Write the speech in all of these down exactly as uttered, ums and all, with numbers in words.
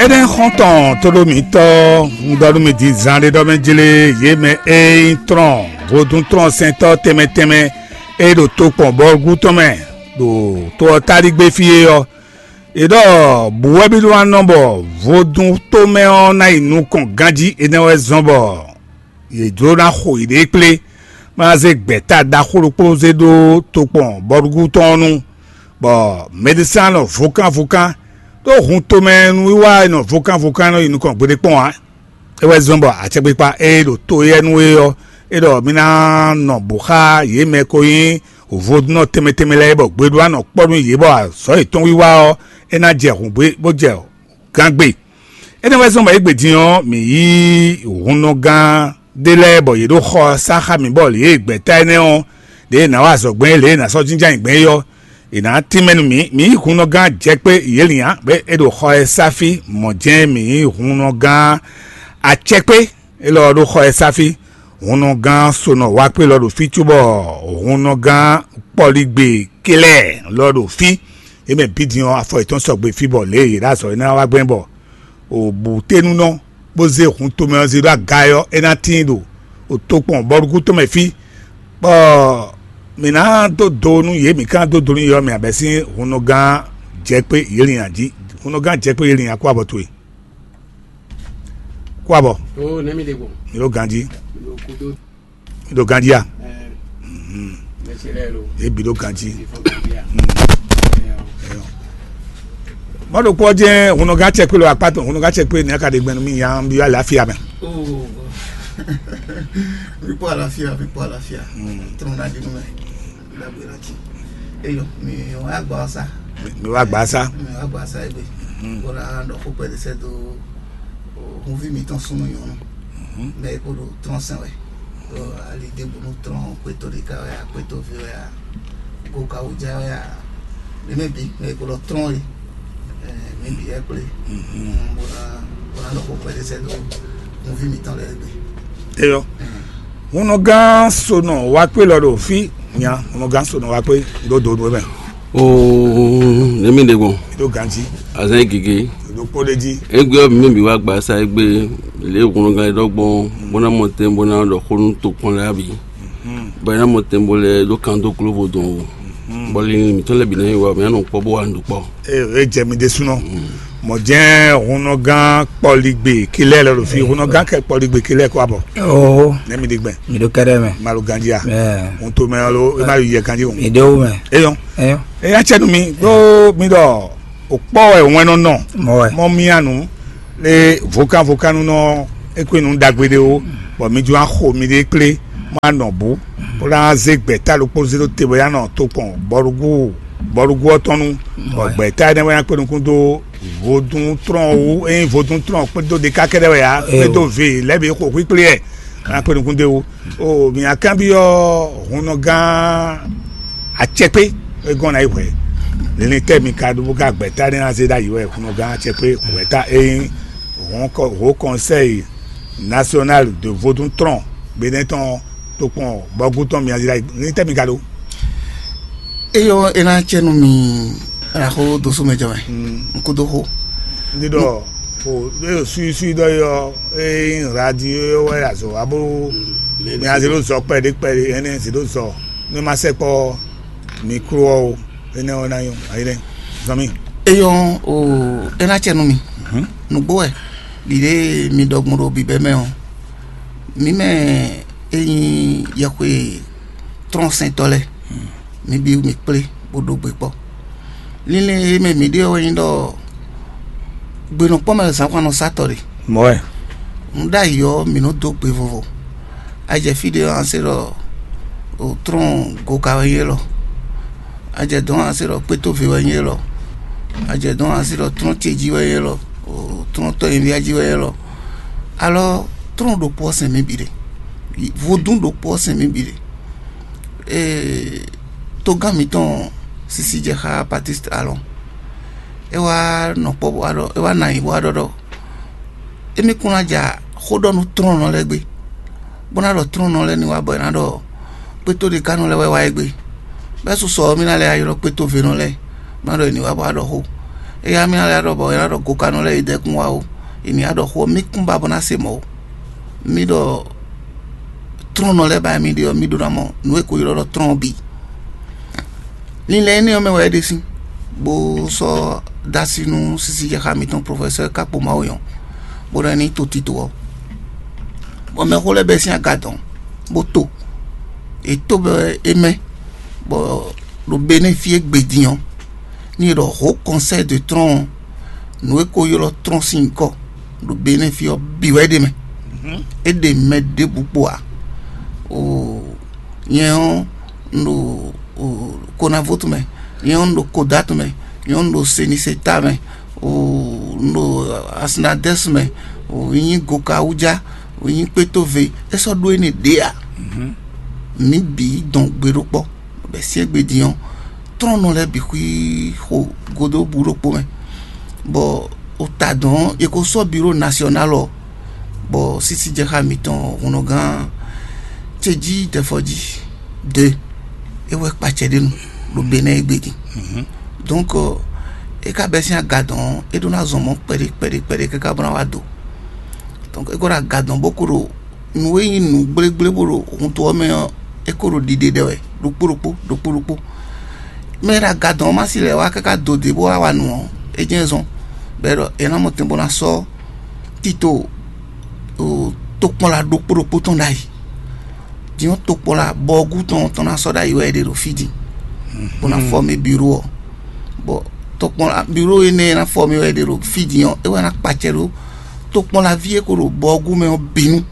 Énɛ́ xɔ́ntɔn tóɖó mǐtɔn, un ɖɔ nú mi din zan ɖé ɖɔ mɛ jlé yě mɛ e nyí tlɔn vodún tlɔnsɛntɔ́ tɛnmɛ tɛnmɛ e ɖo tokpɔn bɔlugú tɔn mɛ ɖo to ɔ́ táligbé fí é ɔ́, è ɖɔ bǔ wɛ mì ɖó ná nɔ bɔ vodún tomɛ ɔ́ ná yi nukɔn ganjí. Énɛ́ wɛ zɔ́n bɔ yě jló ná xo yěɖée kplé, bó ná zé gbɛ̌ta ɖaxó ɖokpó zé ɖó tokpɔn bɔlugú tɔn ɔ́ nu, bɔ mɛɖisán nɔ vokánvokán ɖó hun tomɛ nǔwiwa e nɔ vokánvokán nɔ yi nukɔn gbeɖé kpɔ́n ǎ. É wɛ zɔ́n bɔ acɛkpikpa e ɖo to éyɛ́ nu é ɔ́, é ɖɔ mì ná nɔ bǔ xá yě mɛ ko nyí vodúnnɔ tɛnmɛ tɛnmɛ lɛ́ɛ, bɔ gbeɖuanɔ kpɔ́ nú yě, bɔ azɔ̌ yětɔn wiwa ɔ́, é ná jɛ hǔngbé bó jɛ gángbe. Énɛ́ wɛ zɔ́n bɔ égbé din ɔ́, mǐ yí hunnɔgán ɖé lɛ́ɛ bɔ yě ɖo xɔ ɔ́ sá xá mǐ, bɔ lě e gbɛ̌ta énɛ́ ɔ́, lě e è nǎ wa azɔ̌ gbɛn é, lě e è nǎ sɔ́ jínjɔ́n ayǐ gbɛn é ɔ́, è nǎ tínmɛ nú mǐ. Mǐ yí hunnɔgán Jɛkpé Yělinnya, bɔ é ɖo xɔ ɛ sá fí. Mɔ̌ jɛ́n mǐ yí hunnɔgán Acɛkpé élɔ́ ɔ́ ɖo xɔ ɛ sá fí. Hunnɔgán Sonɔ wá kpé lɔ ɖo fí cóbɔ hunnɔgán Kpɔligbe Kelɛɛ lɔ ɖo fí. Yě mɛ bǐ din ɔ́, afɔ yětɔn sɔgbe fí bɔ lě e yě ɖo azɔ̌ é ná wá gbɛn bɔ o bǔ tɛ́nnúnɔ bó zé hun tomɛ ɔ́ zé ɖó aga ɔ́, é ná tíin ɖo o tokpɔn bɔlugú tɔn mɛ fí, bɔ mǐ ná dó do nú yě, mǐ ka ná dó do nú yě ɔ́, mǐ ná bɛ́ sín hunnɔgán Jɛkpé Yělinnya jí. Hunnɔgán Jɛkpé Yělinnya, kó abɔ towe. Kó abɔ. Ó, nɛ́ mi ɖe gbɔn? Mi ɖo ganjí. Mi ɖo kúdó. Mi ɖo ganjí a? Ɛ, Mhm. Mɛ ce lɛ lo. Yě bǐ ɖo ganjí. Mi fɔ ganjí a? Mhm. Ɛ, ɔ. Ɛ, ɔ. Mɔ ɖokpó ɔ́ jɛ́n hunnɔgán Cɛkpé lo akpá tɔn, hunnɔgán Cɛkpé nɛ́ ka ɖe gbɛn nú mì nya, un byɔ́ alafia mɛ. Ó. Mi kpɔ alafia, mi kpɔ alafia. Mm. Trɔn na ɖi nú mɛ. Ɖagbe na ci. Eyo, mi wá gbɔ sa. Mi wá gbɔ sa. Mi wá gbɔ sa egbe. Mhm. Bó ná ɖɔ xó kpɛɖé sɛ́ dó, o, hunví mǐtɔn súnnu nyɔ̌nu. Mhm. Mɛ e kpo ɖo trɔ́n sɛn wɛ. Ɖo ali ɖěbǔ nú trɔ́n kpétó ɖé ká wɛ a, kpétó ví wɛ a, go ka wú já wɛ a, mɛ mɛ bǐ mɛ e kpo ɖɔ trɔ́n e, ɛ, mɛ bǐ wɛ kplé. Mhm. Bó ná, bó ná ɖɔ xó kpɛɖé sɛ́ dó hunví mǐtɔn lɛ́ɛ gbe. Eyɔ. Hunnɔgán Sonɔ wá kpé lɔ ɖo fí nya, hunnɔgán Sonɔ wá kpé ɖó do nú mɛ. Oo, nɛ́ mi ɖe gbɔn? Ɖó ganjí. Azán gěgé. Ɖó kpó ɖé jí. Égbé ɔ́, mǐ bǐ wá gba sa égbé lě e hunnɔgán e ɖɔ gbɔn bó ná mɔ tɛn bó ná ɖɔ xó nú tokpɔn lɛ́ɛ bǐ. Bɔ é ná mɔ tɛn bó lɛ́ ɖó kan dó kló vodún o. Bɔ linlin mǐtɔn lɛ́ɛ bǐ ná yi wá, mǐ ná nɔ kpɔ́ bó wá nǔ ɖu kpɔ́. Ee, é jɛ mi ɖésúnɔ. Mɔ̌ jɛ́n hunnɔgán Kpɔligbe Kilɛ́ɛ lɔ ɖo fí, hunnɔgán kɛ Kpɔligbe Kilɛ́ɛ kó abɔ. Oo. Nɛ́ mi ɖi gbɛn? Mi ɖo kɛɖɛ mɛ. Ma ɖo ganjí a? Ɛɛ. Hun to mɛ ɔ́ lo, é má yi yɛ ganjí o. Mi ɖe wo mɛ. Eyɔn. Eyɔn. Eya cɛ nú mi ɖó mi ɖɔ o kpɔ wɛ wɛn nɔ nɔ. Mɔ wɛ. Mɔ mia nu le vokan vokan nu nɔ ekwe nu ɖagbe ɖe o, bɔ mi jɔ axo mi ɖe kplé, ma nɔ bú, bó ná zé gbɛ̌ta ɖokpó zé ɖó te bɔ ya nɔ tokpɔn bɔɖugu bɔɖugu ɔ́ tɔn nu, bɔ gbɛ̌ta énɛ́ wɛ ná kpé nukún dó vodún trɔn wú, ényí vodún trɔn kpédó ɖeka kɛ́ɖɛ́ wɛ ǎ, kpédó ve lɛ́ɛ bǐ xo xwíkplé ɛ, ná kpé nukún dó wú. O mǐ nǎ kanbyɔ́ hunnɔgán Acɛkpé e gɔ́n ná yi hwɛ̌. Linlin tɛ́ mi ka ɖó bó ka gbɛ̌ta énɛ́ ná zé ɖ'ayǐ wɛ hunnɔgán Acɛkpé hwɛ̌ta e nyí hɔn kɔ-, hǒ kɔnsɛ́yi nasyɔnál de vodún trɔn Benɛ́ tɔn tokpɔn bɔgú tɔn mǐ azila ní tɛ́ mi ka ɖó? Eyɔ, e ná cɛ nú mi, axó dosó mɛ jɔ mɛ. Mm. N kúdó xó. Ndi ɖɔ o ɖo suisui ɖɔ yɔ e nyí radio wɛ azɔ abo mi azi ɖo zɔ kpɛɖé kpɛɖé ɛnɛ zi ɖo zɔ ne ma sɛ kpɔ mikro ɔ o, enɛ ɔ na nyɔ ayi ɖɛ zɔn mi. Eyɔ, o e ná cɛ nú mi. Mhm. Nǔgbó wɛ ɖiɖe mi ɖɔ gbɔn ɖo bǐbɛ́ mɛ ɔ́, mǐ mɛ e nyí yɛxwe trɔ́nsɛntɔ́ lɛ́ɛ, mǐ bǐ mǐ kplé bó ɖó gbe kpɔ́. Linlɛn e mɛ mǐ ɖe ɔ́ wɛ nyí ɖɔ gbenɔkpɔ́ mɛ zǎnhwannɔsatɔ́ ɖe. Mɔ̌ wɛ. Un ɖ'ayǐ ɔ́, mǐ nɔ dó gbe vovo. A jɛ fí ɖé ɔ́, a se ɖɔ o trɔ́n goka wɛ nyí élɔ́. A jɛ dɔ̌n, a se ɖɔ kpétóve wɛ nyí élɔ́. A jɛ dɔ̌n, a se ɖɔ trɔ́n ce jí wɛ nyí élɔ́. O trɔ́n tɔ́ nyivíá jí wɛ nyí élɔ́. Alɔ trɔ́n ɖokpó ɔ́ sɛn mǐ bǐ ɖe. Vodún ɖokpó ɔ́ sɛn mǐ bǐ ɖe. Ee, togán mǐtɔn Sisi jɛ xá Baptiste alɔ. É wá nɔ kpɔ́ bó wá ɖɔ, é wá nɔ anyi bó wá ɖɔ ɖɔ émí kún ná ja xó ɖɔ nú tlɔ́nnɔ lɛ́ɛ gbé, bó ná ɖɔ tlɔ́nnɔ lɛ́ɛ ní wá bɔ è nǎ ɖɔ kpétó ɖe ka nɔ lɛ́ wɛ wá é gbé. Bɛ́ susɔ ɔ́, mí ná lɛ́ ylɔ́ kpétó venɔ lɛ́ɛ, bó ná ɖɔ è ní wá bó wá ɖɔ xó. Éyá mì ná lɛ́ ɖɔ bɔ é ná ɖɔ gokanɔ lɛ́ɛ yi dɛkun wá o. È nǐ ɖɔ xó ɔ́, mì kún ba bó ná se mɔ̌ ó. Mì ɖɔ trɔ́nnɔ lɛ́ɛ ba mì ɖe ɔ́, mì ɖó ná mɔ nǔ e ko ylɔ́ ɖɔ trɔ́n ɔ́ bǐ. Linlɛn énɛ́ ɔ́ mɛ wɛ é ɖe sín, bó sɔ́ dó así nú sísí jɛ xá mǐtɔn profɛsɛ́ Kákpo Mawu nyɔ́, bó ná ní to tito ɔ́. Bɔ mɛxó lɛ́ɛ bɛ́ sín aga dɔn, bó to. È tó bɔ é mɛ, bɔ ɖo Benɛ́ fí égbé din ɔ́, ní è ɖɔ hǒ kɔnsɛ́ de trɔ́n ɔ́, nǔ e ko ylɔ́ trɔ́n sín nyǐkɔ ɖo Benɛ́ fí ɔ́ bǐ wɛ é ɖe mɛ. É ɖe mɛ ɖěbǔ kpo ǎ. Oo, nyɛ ɔ́, un ɖo Konavótu mɛ, nyɛ ɔ́, un ɖo Kodatu mɛ, nyɛ ɔ́, un ɖo Seniseta mɛ, oo, un ɖo Asinadɛ́si mɛ, oo, un nyí Gokawújá, oo, un nyí Kpétóve. É sɔ́ ɖó énɛ́ ɖě ǎ. Mǐ bǐ dɔn gbe ɖó kpɔ́, bɔ é syɛ́n gbe din ɔ́, trɔ́nnɔ lɛ́ɛ bǐ xwí xo godó bǔ ɖokpó mɛ, bɔ o ta dɔn ɔ́, è ko sɔ́ biró nasyɔnál ɔ́, bɔ sísí jɛ xá mǐtɔn hunnɔgán ce jí dɛfɔjí de é wɛ kpacɛ ɖé nu ɖo Benɛ́ égbé din. Donc é ka bɛ́ sín aga dɔn ɔ́, é ɖó ná zɔn mɔ̌ kpɛɖé kpɛɖé kpɛɖé káká bó ná wá do. Donc é ko ɖo aga dɔn bó ko ɖo nǔ e nyí nǔ gblégblé bó ɖo hun to ɔ́ mɛ ɔ́, é ko ɖo ɖiɖe ɖɛ wɛ ɖokpó ɖokpó ɖokpó ɖokpó. Mɛ e ɖo aga dɔn ɔ́ ma si lɛ́ wá káká do dě bó wá wa nǔ ɔ́, é jɛ́n zɔn bɔ é ɖɔ è nǎ mɔ tɛn bó ná sɔ́ tito tokpɔnla ɖokpó ɖokpó tɔn ɖ'ayǐ. Din ɔ́, tokpɔnla bɔɔgú tɔn tɔn ná sɔ́ ɖ'ayǐ wɛ è ɖe ɖo fí din bó ná fɔ́mé biró ɔ́. Bɔ tokpɔnla biró énɛ́ e ná fɔ́mé wɛ è ɖe ɖo fí din ɔ́, é wɛ ná kpacɛ ɖó tokpɔnlaví e ko ɖo bɔɔgú mɛ ɔ́ bǐ nu.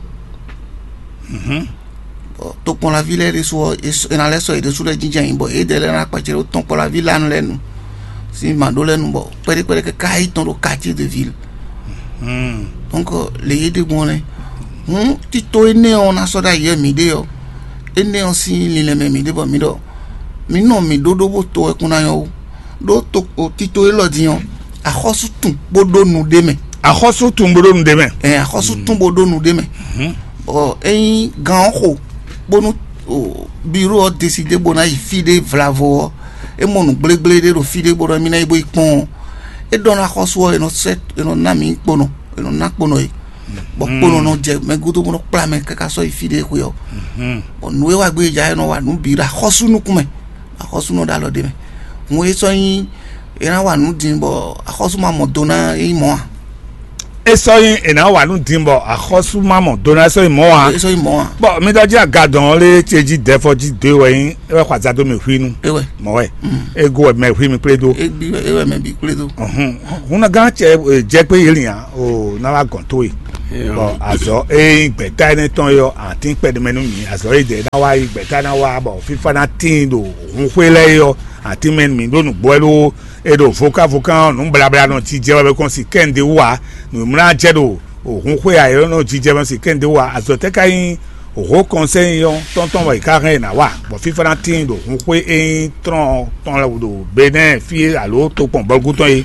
Bɔ tokpɔnlaví lɛ́ɛ ɖésú ɔ́, è nǎ lɛ́ sɔ́ yě ɖésú lɛ́ɛ jínjɔ́n ayǐ, bɔ yědɛɛ lɛ́ɛ ná kpacɛ ɖó tɔ́nkpɔ́nlaví lanu lɛ́ɛ nu sín mǎɖó lɛ́ɛ nu, bɔ kpɛɖé kpɛɖé káká yi tɔn ɖo quartier de ville. Donc le yě ɖe gbɔn lɛ́ɛ. Hǔn tito énɛ́ ɔ́ ná sɔ́ ɖó ayǐ wɛ mǐ ɖe ɔ́, énɛ́ ɔ́ sín linlɛn mɛ mǐ ɖe bɔ mǐ ɖɔ mǐ nɔ mǐ ɖóɖó bó to wɛ kún ná nyɔ́ ó. Ɖó to tito élɔ́ din ɔ́, axɔ́sú tun bó ɖó nu ɖ'é mɛ. Axɔ́sú tun bó ɖó nu ɖ'é mɛ. Ɛ axɔ́sú tún bó ɖó nu ɖ'é mɛ. Bɔ ényí gán ɔ́ xo bónú biró ɔ́ désidé bó ná yi fí ɖé vlavo ɔ́, é mɔ nǔ gblégblé ɖé ɖo fí ɖé bó ɖɔ émí ná yi bó yi kpɔ́n ɔ́, é ɖɔ ná xɔ́sú ɔ́, è nɔ sɛ́ è nɔ ná mǐ kponɔ, è nɔ ná kponɔ é. Bɔ kponɔ nɔ jɛ mɛ gúdo bó nɔ kplá mɛ káká sɔ́ yi fí ɖé xwe ɔ́. Bɔ nǔ e wá gbé ja é nɔ wa nǔ bǐ ɖo axɔ́sú nukún mɛ, axɔ́sú nɔ ɖo alɔ ɖé mɛ. Hǔn é sɔ́ nyí è nǎ wa nǔ din bɔ axɔ́sú ma mɔ do ná é nyí mɔ̌ ǎ. É sɔ́ nyí è nǎ wa nǔ din bɔ axɔ́sú ma mɔ do ná é sɔ́ nyí mɔ̌ ǎ. É sɔ́ nyí mɔ̌ ǎ. Bɔ mi ɖɔ jí agadɔn ɔ́ lé ce jí dɛfɔ jí dó wɛ nyí é wɛ xɔ azado mɛ hwí nu. É wɛ. Mɔ̌ wɛ. É go wɛ mɛ hwí mi kplé dó. É gbi é wɛ mɛ bǐ kplé dó. Hun ná gán cɛ jɛ kpé yé lin ǎ o ná wá gɔn tó e. Bɔ azɔ e nyí gbɛta énɛ́ tɔn yɔ àtín kpɛɖé mɛ nú mi azɔ e dɛ ná wá yi gbɛta ná wá bɔ fífá ná tíin ɖo hun xwé lɛ́ɛ yɔ àtín mɛ nú mi ɖó nǔgbó wɛ ɖó e ɖo vokávoká nǔ blablánɔ jijɛ wɛ bɛ kɔn si kɛ́n ɖé wú ǎ. Nǔmlá jɛ ɖo òhun xwé ayɔ́nɔ jijɛ mɛ si kɛ́n ɖé wú ǎ. Azɔ tɛ́ ka nyí òhó kɔnsɛ́ nyí ɔ́ tɔ́ntɔn wɛ è ká hɛn è nǎ wa bɔ fífá ná tíin ɖo hun xwé e nyí trɔ́n tɔn lɛ́ɛ ɖo Benɛ́ɛ fí alo tokpɔn bɔlgú tɔn é.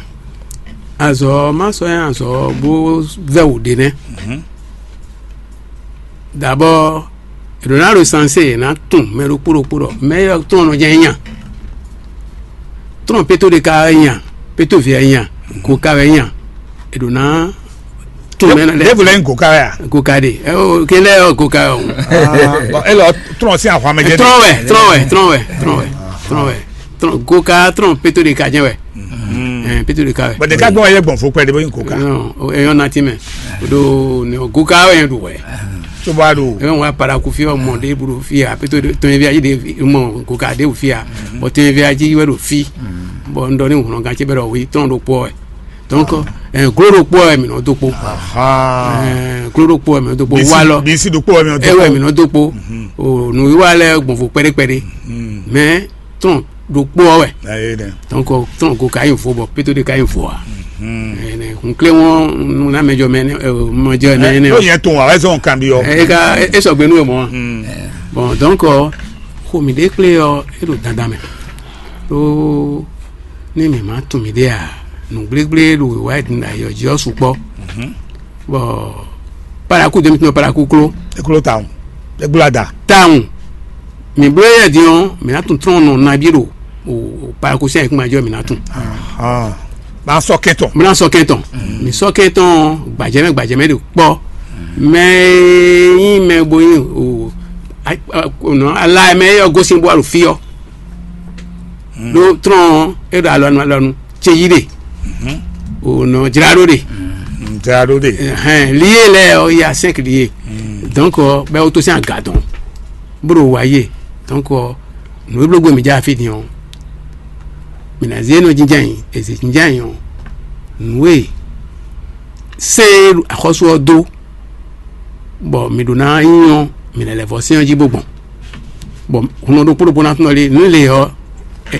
Azɔ má sɔ́ nyí azɔ bó vɛ́ wǔ ɖe nɛ́. D'abord, è ɖǒ ná ɖo sanse è nǎ tunwun mɛ ɖokpó ɖokpó ɖɔ mɛ élɔ́ tɔn nɔ jɛ́n nya. Tɔn pétó ɖé ka wɛ nya, pétó vǐ wɛ nya, go ka wɛ nya. È ɖǒ ná tunwun mɛ lɛ́ɛ. Ɖěvo lɛ́ nyí go ka wɛ a? Go ka ɖe. Ɛ o ke lɛ ɔ go ka wɛ o. Bɔn e lɔ trɔn sín ahwan mɛ jɛ. Trɔn wɛ, trɔn wɛ, trɔn wɛ, trɔn wɛ, trɔn wɛ. Trɔn go ka trɔn pétó ɖé ka jɛ wɛ. Ɛn pétó ɖé ka wɛ. Bɔn ɖeka gbɔn yɛ gbɔn fo kpɛ ɖe bó nyí go ka. Ɛyɔn nati mɛ. O ɖo ne go ka wɛ yɛn ɖo wɛ. Tó bá ɖo. Ɛ wá paraku fi ɔmɔ ɖe bolo fi a pétó tɔnyɛvi ayi ɖe mɔ go ka ɖe fi a. Bɔn tɔnyɛvi ayi wɛ ɖo fi. Bɔn n ɖɔ ni ŋlɔ gan ce bɛ ɖɔ wi tɔn ɖo kpɔ wɛ. Donc ɛ glo ɖo kpɔ wɛ mi nɔ do kpɔ. Ɛ glo ɖo kpɔ wɛ mi nɔ do kpɔ wa lɔ. Bisi ɖo kpɔ wɛ mi nɔ do kpɔ. Ɛ wɛ mi nɔ do kpɔ. O nu wa lɛ gbɔnfo kpɛɖe kpɛɖe. Mais tɔn ɖo kpɔ wɛ. Ayi dɛ. Donc tɔn ko ka yi vo bɔ pétó de ka yi vo a. Ɛnɛ nkle wɔn na mɛjɔ mɛ ne mɛjɔ mɛ ne. Yóò yẹn tó wa wẹ́sẹ̀ òun kan bí yọ. E ka e sɔgbe nu yɛ mɔ. Bon donc xo mi ɖe kple yɔ e ɖo dandan mɛ. Ɖó ne mǐ ma tunwun mǐɖée ǎ, nǔgblégbléé ɖo wěwá e din ɖo ayǐ ɔ́ jí ɔ́ sukpɔ́. Bɔ paraku dó mì tunwun paraku kló. É kló tawun. É gbló ada. Tawun. Mǐ bló éyɛ́ din ɔ́, mǐ ná tunwun tlɔ́n nɔ nabí ɖo paraku sín ayǐkúngban jí ɔ́, mǐ ná tunwun. Bá sɔ́ kɛn tɔn. Mla sɔ́ kɛn tɔn. Mi sɔ́ kɛn tɔn gbajɛmɛ gbajɛmɛ ɖo kpɔ́. Mɛ e nyí mɛ bo nyí o a- a- o nɔ ala mɛ e yɔ gosín bó alu fí ɔ́. Ɖó trɔn ɔ́, é ɖo alɔnu alɔnu ce yí ɖe. O nɔ jlá ɖó ɖe. Ntɛ aɖó ɖe. Hɛn lié lɛ ɔ ya cinq lié. Donc ɔ bɛ o to sín aga dɔn. Bó ɖo wa yé. Donc ɔ nǔ e bló gbé mi dza fí din ɔ. Mi ná zé nɔ jínjɛ́n yìí, èzè jínjɛ́n yìí ɔ. Nǔ e sɛ́n e axɔ́sú ɔ́ dó, bɔ mǐ ɖó ná nyí ɔ́, mǐ ná lɛ́ vɔ sɛ́n ɔ́ jí bó gbɔn. Bɔ hunɔ ɖokpó ɖokpó ná tunɔ lé nǔ lě ɔ́,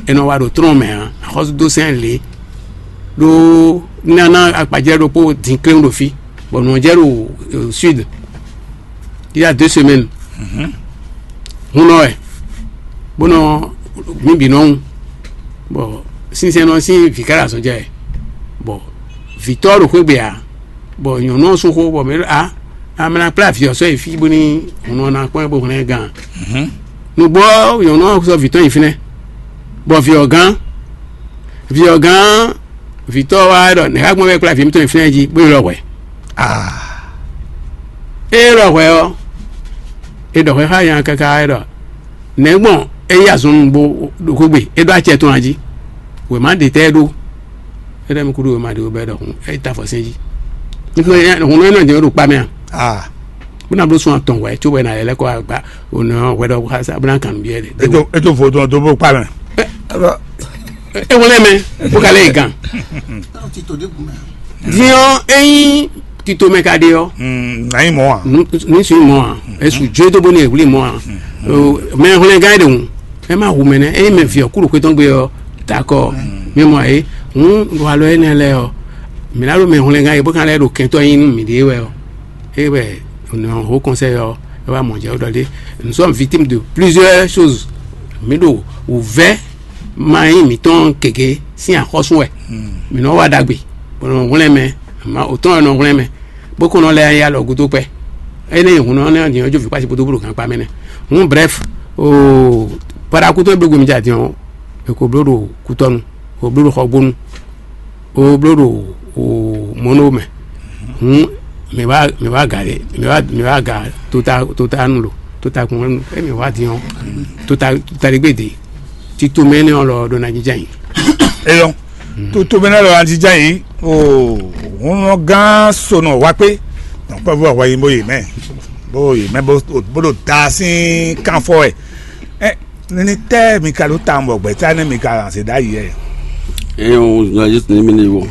è nɔ wa ɖo trɔ́n mɛ ǎ. Axɔ́sú dó sɛ́n lě ɖó nana akpajlɛ́ ɖokpó dín kléwún ɖo fí, bɔ nǔ ɔ́ jɛ ɖo sud. Il y a deux semaines. Hunɔ wɛ bó nɔ mǐ bǐ nɔ ŋu, bɔ sínsɛ́n nɔ sín vǐ ká ɖo azɔn jɛ wɛ, bɔ vǐtɔ́ ɖo xwé gbe ǎ. Bɔ nyɔ̌nu ɔ́ sú xó bɔ mɛ a amla kplá vǐ ɔ́ sɔ́ yi fí bóní hun ɔ́ ná kpɔ́n ɛ bó hwlɛ́n ɛ gán. Nǔgbó ɔ́, nyɔ̌nu ɔ́ sɔ́ vǐ tɔn yi fínɛ́, bɔ vǐ ɔ́ gán. Vǐ ɔ́ gán, vǐtɔ́ ɔ́ wá ɖɔ nɛ̌ ká gbɔn wɛ kplá vǐ mitɔn yi fínɛ́ jí bó yi lɔ hwɛ. Ée lɔ hwɛ ɔ́, è ɖɔ hwɛ xá nya káká é ɖɔ nɛ̌ gbɔn é yí azɔn nú bó ɖo xwé gbe é ɖó acɛ tɔn a jí? Wěma ɖe tɛ́ é ɖó? É ɖɔ mi kúɖú wěma ɖe wó bɛ́ ɖɔ hun é ta afɔ sɛn jí. Hun nɔ é nɔ jɛ ɖo kpa mɛ a? Ah. Bó ná bló sun atɔn hwɛ có bɔ é ná lɛ́ lɛ́ kɔ agba ò nɔ hwɛ ɖɔ xá sá bó ná kan nǔ byɔ́ ɖe. Eto eto vodun ɔdó bó kpa mɛ. É wlɛ́ mɛ bó ka lɛ́ yi gán. Dín ɔ́ ényí tito mɛ ka ɖe ɔ́, Nàyí mɔ a? Ní sún mɔ a? Èsù jó dó bóni èwúlì mɔ a? Mɛ hwlɛngán ɖe hùn. Ɛ má hu mɛ nɛ ényí mɛ vǐ ɔ́ kú ɖo xwé tɔn gbe ɔ́, dakɔ. Mi mɔ ayé hùn ɖo alɔ énɛ́ lɛ́ɛ ɔ́, mǐ ná ɖo mɛ hwlɛngán e bó ka lɛ́ ɖo kɛntɔ́ nyi nú mǐɖée wɛ ɔ́, é wɛ nɔ hó kɔnsɛ́ ɔ́ é wá mɔ jɛ ɖɔ ɖé. Nous sommes victimes de plusieurs choses. Mǐ ɖo wǔvɛ́ ma nyí mǐtɔn gěgé sín axɔ́sú wɛ. Mǐ nɔ wa ɖagbe, bɔ nɔ hwlɛ́n mɛ, ma òtɔn wɛ nɔ hwlɛ́n mɛ, bó kɔn nɔ lɛ́ ya alɔ gúdo kpɛ. Énɛ́ nyi hun nɔ nɛ́ din ɔ́ jó vǐ kpási kpódó bó ɖo gankpá mɛ nɛ́. Hǔn brɛ́f, oo, Paɖakútɔ́ e bló gbe mi jɛ din ɔ́, è ko bló ɖo kútɔ́nu, è ko bló ɖo xɔgbónu, ó bló ɖo mɔ̌no mɛ. Hǔn mǐ wá mǐ wá ga ɖe mǐ wá mǐ wá ga tota tota nu lo tota kún nu é mǐ wá din ɔ́ tota tota ɖé gbe dě tito mɛ énɛ́ ɔ́ lɔ ɖó ná jínjɛ́n ayǐ. Eyɔn, tutu mɛ nɛ lɔ anjijá yi o, hun nɔ gán sonɔ wa kpé, nɔkpɛvɔ hwɛ yi bó yi mɛ bó yi mɛ bó bó ɖo da sín kánfɔ wɛ. Ɛ nini tɛ mi ka ɖó tawun bɔ gbɛtá nɛ mi ka zé ɖ'ayǐ ɛ? Eye wo zɔn Yesu ní mi ní wo.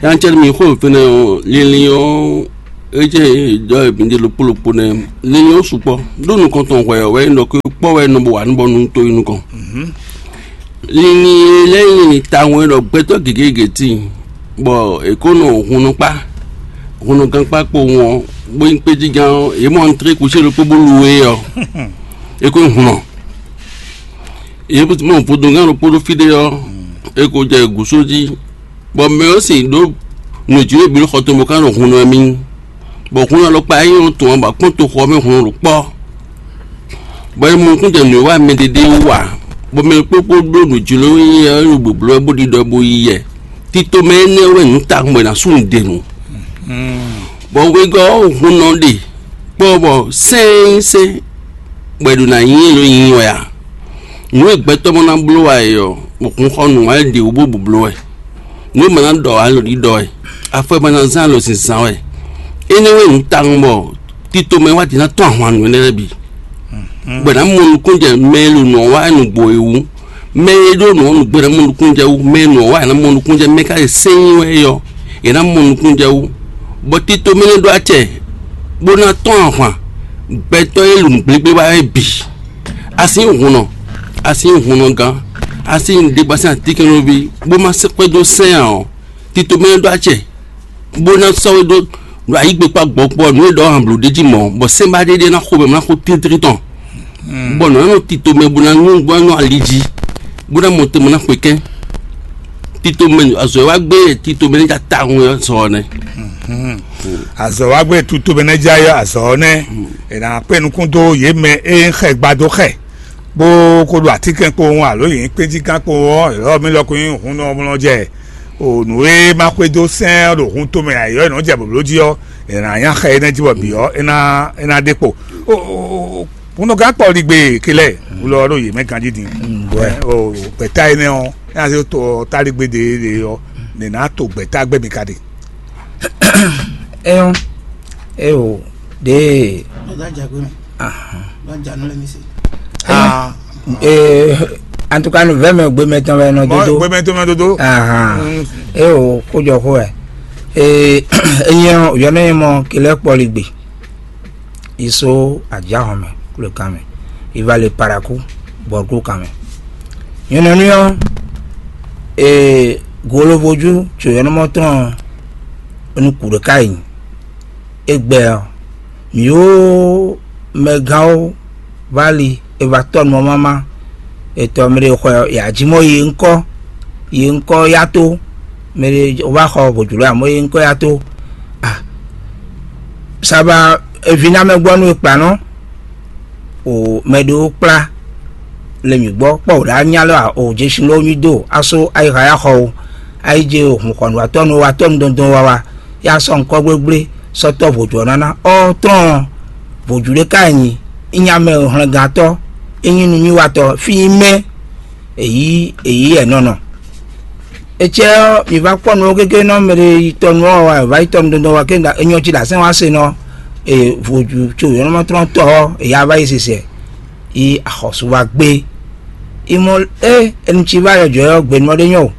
Yantsɛ mi xó fɛnɛ o, linlin o, etsɛ dɔ mi de lokpo lokpo nɛ. Linlin o sukpɔ. Ɖó nukɔntɔn hwɛ wɛ nɔ ko kpɔ wɛ nɔ bo wa nú bɔ nu to yi nukɔn. Linlin lɛ nyi tawun ɖɔ gbɛtɔ gěgé gěti, bɔ è ko nɔ hunnɔ kpá, hunnɔ gankpá kpo wɔn, bó nyí kpéjígán ɔ́, yě mɔ ntré kusi ɖokpó bó lu é ɔ́, é ko nyí hunnɔ. Yě mɔ vodungán ɖokpó ɖó fí ɖé ɔ́, é ko jɛ gǔsó jí, bɔ mɛ ɔ́ sin ɖó nǔjlé bǐ ɖo xɔ tɔn bó ká ɖo hun nú mì, bɔ hun alɔkpa é nyɔ́ tɔn ɔ́ ba kpɔ́n toxo ɔ́ mɛ hun ɖo kpɔ́, bɔ é mɔ nukúnnú jɛ nǔ e wa mɛ ɖéɖé wú ǎ, bɔ mɛ kpókpó ɖó nǔjló nyí ɔ́ ɖo gběbló wɛ bó ɖiɖɔ bó yí yɛ. Tito mɛ énɛ́ wɛ nǔ tawun bɔ è nǎ sú nǔɖé nu. Bɔ wegɔ́ ɔ́ hun nɔ ɖe kpɔ́ bɔ sɛ́n sɛ́n bɔ è ɖo ná nyí é ɖo nyi wɛ ǎ. Nǔ e gbɛtɔ́ mɔ ná bló wá é ɔ́, bɔ hun xɔ nǔ wá é ɖě wú bó bu bló wɛ. Nǔ e ma ná ɖɔ ǎ lǒ ɖiɖɔ wɛ, afɔ e ma ná zán lǒ zǐnzán wɛ. Énɛ́ wɛ nǔ tawun bɔ tito mɛ wá din ná tɔ́n ahwan nǔ énɛ́ lɛ́ɛ bǐ. Bɔ è nǎ mɔ nukúnnú jɛ mɛ e ɖo nǔ ɔ́ wá nǔgbó é wú. Mɛ e ɖó nǔ ɔ́ nǔgbó é ná mɔ nukúnnú jɛ wú. Mɛ e nǔ ɔ́ wá è nǎ mɔ nukúnnú jɛ. Mɛ ka e sɛ́n nyi wɛ é ɔ́, è nǎ mɔ nukúnnú jɛ wú. Bɔ tito mɛ nɛ́ ɖó acɛ bó ná tɔ́n ahwan gbɛtɔ́ e ɖo nǔgblégbé wá é bǐ. A sín hunnɔ, a sín hunnɔgán, a sín ɖěgbasín atínkɛnlóví, bó má sɛ́ kpɛ́ dó sɛ́n ǎ ɔ́, tito mɛ e ɖó acɛ, bó ná sɔ́ we ɖó ɖo ayǐ gbekpá gbɔkpɔ nǔ e ɖɔ han blǒ ɖ'é jí mɔ̌, bɔ sɛ́nbá ɖé ɖé ná xo mɛ ná xo tíntín tɔn, bɔ nǔ ná nɔ tito mɛ bó ná nyú bó ná nyú ali jí, bó ná mɔ tɛnmɛ ná xwe kɛ́n. Tito mɛ azɔ̌ e wá gbé tito mɛ ní ja tawun ɔ́ sɔ ɔ́ nɛ́. Azɔ̌ wá gbé tutu mɛ nɛ́ já yɔ azɔ̌ ɔ́ nɛ́. È nǎ kpé nukún dó yě mɛ e xɛ gbadó xɛ, bó ko ɖo atínkɛn kpowun alo yě nyí kpéjígán kpowun ɔ́, yɔ̌ mi lɔ ko nyí hun nɔ mlɔ jɛ. O nǔ e ma xwedó sɛ́n ɔ́ ɖo hun tomɛ ayǐ ɔ́, è nɔ jɛ blǒbló jí ɔ́, è nǎ nya xɛ énɛ́ jí bɔ bǐ ɔ́, é ná é ná ɖe kpo. O o o, hunɔgán kpɔligbe kelɛ wulɔ ɔ́ ɖo yě mɛ ganjí din. Bɔɛ. O gbɛ̌ta énɛ́ ɔ́, é ná zé to táligbe ɖě ɖě ɔ́, nɛ̌ ná to gbɛ̌ta gbɛ́ mi ka ɖe? Eyo, eyo, ɖe. Ahan. Ee, en tout cas, nuvɛ́ mɛ gbemɛ tɔn wɛ nɔ dodo. Gbemɛ tɔn mɛ dodo. Ahan. Ee, o kójɔ xó wɛ. Ee, enyi ɔ́, yɔ nɔ nyí mɔ kilɛ kpɔligbe. Iso ajahɔn mɛ, kúlekán mɛ. Ivale paraku, bɔrku kan mɛ. Nyɔnɔnu ɔ́, ee, golovojú tso yɔnɔmɔ tɔn ɔ́, nu kúɖe ka yi. Egbɛ ɔ́, mǐ ó mɛgán ó vá li, è va tɔ́ nǔ ɔ́ mama. È tɔ mɛ ɖé xwɛ ɔ́, è jí mɔ yi ŋkɔ́, yi ŋkɔ́ yá tó, mɛ ɖé wá xɔ vodúlɔ amɔ̌ yi ŋkɔ́ yá tó. A saba evi ná mɛ gbɔ nú e kplá nɔ, o mɛ ɖé ó kplá le mǐ gbɔ kpɔ wǒ ɖá nya lɔ a o jesin lɔ nyi do aso ayixa ya xɔ o. Ayi je o hun xɔ nǔ atɔ́ nu wa tɔ́ nu dɔndɔn wa wa ya sɔ́ ŋkɔ gblégbé sɔ́ tɔ́ vodú ɔ́ ná ná ɔ́ tlɔ́n vodú ɖé ka nyi. Inya mɛ hlɛngantɔ́, inyi nunywíwatɔ́ fí mɛ èyí èyí ɛnɔnɔ. Ecɛ ɔ́, mi va kpɔ́ nǔ ɔ́ gégé nɔ mɛ ɖé yi tɔ nú ɔ́ wá, vǎ yi tɔ nú dɔndɔn wá kéŋ, enyɔ cí ɖo asɛn wá se nɔ. Vodú tso yɔnɔmɔtrɔ́ntɔ́ ɔ́, èyí a vá yi sisɛ yi axɔ́sú wá gbé. Imɔ é enu cí va yɔ jɔ̌ ɔ́ gbe nɔ ɖé nyɔ o.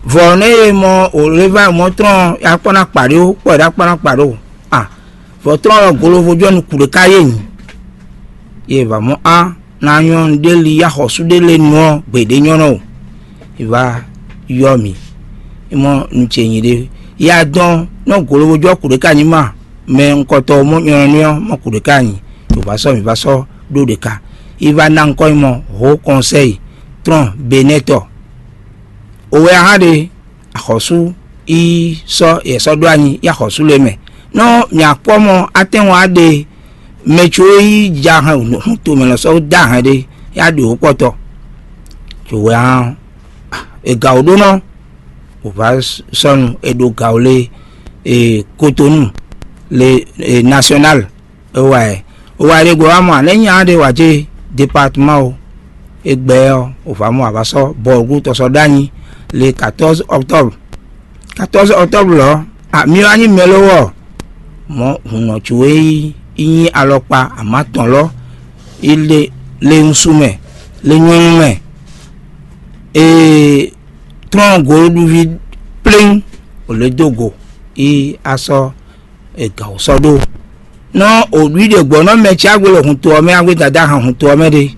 Vɔ̌ nú e mɔ òlévá mɔ̌ tlɔ́n akpɔ́ ná kpa ɖó kpɔ́ ɖó akpɔ́ ná kpa ɖó a vɔ̌ tlɔ́n ɔ́ golovodú ɔ́ nu kǔɖé ká yé nyi. Yě va mɔ á ná nyɔ́ nǔɖé li yá xɔsú ɖé lé nu ɔ́ gbeɖé nyɔ́ nɔ o. È va yɔ mì. É mɔ nu ce nyi ɖé. Yá dɔn nɔ golovodú ɔ́ kǔɖé ká nyi ma mɛ ŋkɔtɔn mɔ nyɔ́ nɔ ɔ́ mɔ kǔɖé ká nyi. Yě va sɔ́ mì va sɔ́ ɖó ɖě ká. Yi va ná ŋkɔ nyi mɔ hǒ kɔnsɛ́yi tlɔ́n benɛ́tɔ. Owɛ ahan ɖe axɔ̌sú yi sɔ́ yɛ sɔ́ ɖó anyi yi axɔ̌sú lɛ́ɛ mɛ. Nɔ mì akpɔ́ mɔ atɛ́nwɔn á ɖe mɛ có yi ja hɛn hun tomɛ lɔ sɔ́ dó ahɛn ɖé, ya ɖo wǒ kpɔtɔ. Cǒ wɛ hán e ga wǒ ɖó nɔ, wǒ va sɔ́nu e ɖo ga wǒ lé e Kotonu le e nasyɔnal. Owa ɛ owa ɖe gbɔ wa mɔ anɛ nya ɖe wa je département o. Egbɛ ɔ́ o va mɔ a va sɔ́ bɔlgu tɔsɔ ɖ'anyi le quatorze octobre. Quatorze octobre lɔ a mi wá nyí mɛlówɔ mɔ hunɔ cu e yi yi nyí alɔkpa ama tɔn lɔ yi le le ŋsu mɛ le nyɔnu mɛ. Ee trɔn goɖuɖuvi pléŋ o le dó go yi asɔ e gǎn wǒ sɔ́ ɖó. Nɔ o ɖu ɖe gbɔ̌ nɔ mɛ ce agbélé hun to ɔ́ mɛ, agbé dada hɛn hun to ɔ́ mɛ ɖé.